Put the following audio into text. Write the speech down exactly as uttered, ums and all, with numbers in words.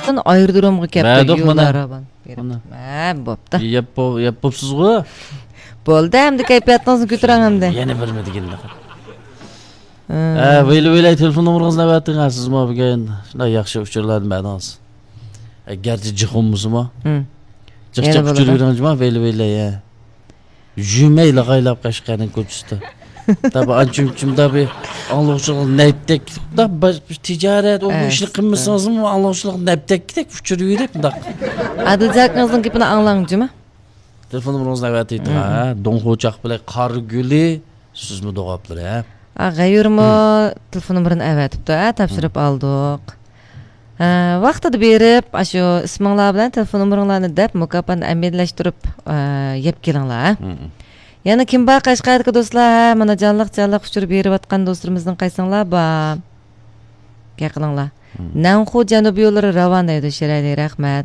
ئايرودرومغا كەپتۇ، مەدۇق يوللار مانا. راۋان. مانا. ھە، بوپتۇ. يەپ بو-، يەپ بوپسىزغۇ؟ بولدى، ئەمدى كەيپىياتىڭىزنى كۆتۈرۈڭ ئەمدى. يەنە بىرمۇ دېگىنىدە. ھە، ۋەيلى ۋەيلى تېلېفون نومۇرىڭىزنى ئەۋەتىڭ، ھە، سىزمۇ بۈگۈن شۇنداق ياخشى ئۇچۇرلارنى بەردىڭىز. ئەگەرچە جىق بولمىسىمۇ. ھىم. جىق يەنە جىق بولىدۇ. ئۇچۇر بېرىڭ جۇما، ۋەيلى ۋەيلى، ھە. يۈرمەي لاغايلاپ قەشقەرنىڭ كوچىسىدا. تاپا ئانچە-مۇنچە بىر ئاڭلىغۇچىلىق نەپتەك. تاپا بىر تىجارەت، ئۇ بۇ ئىشنى ئەستە. قىلمىسىڭىزمۇ ئاڭلىغۇچىلىق نەپتەكتەك ئۇچۇرۇۋېرىپ مۇنداق. ئادىلجاكىڭىزنىڭ گېپىنى ئاڭلاڭ جۇما. تېلېفون نومۇرىڭىزنى ئەۋەتىۋېتىڭ، مم. ھە؟ دۇڭخۇ چاقپىلەك قارا گۈلى، سۈزمە دوغاپلىرى، ھە؟ ئا، غەيۇرمۇ مم. تېلېفون نومۇرىنى ئەۋەتىپتۇ، ھە؟ تاپشۇرۇپ مم. ئالدۇق. ھە، ۋاقتىدا بېرىپ، ئاشۇ ئىسمىڭلار بىلەن تېلېفون نومۇرۇڭلارنى دەپ، مۇكاپاتنى ئەمەلىيلەشتۈرۈپ، ئە، يەپ كېلىڭلار، ھە؟ مم. يەنە كىم بار قەشقەردىكى دوستلار؟ ھە، مانا جانلىق-جانلىق ئۇچۇر بېرىۋاتقان دوستلىرىمىزنىڭ قايسىڭلار بار؟ گەپ قىلىڭلار. مم. نەنخۇ جەنۇبىي يوللىرى راۋان دەيدۇ، شىرەلى، رەھمەت.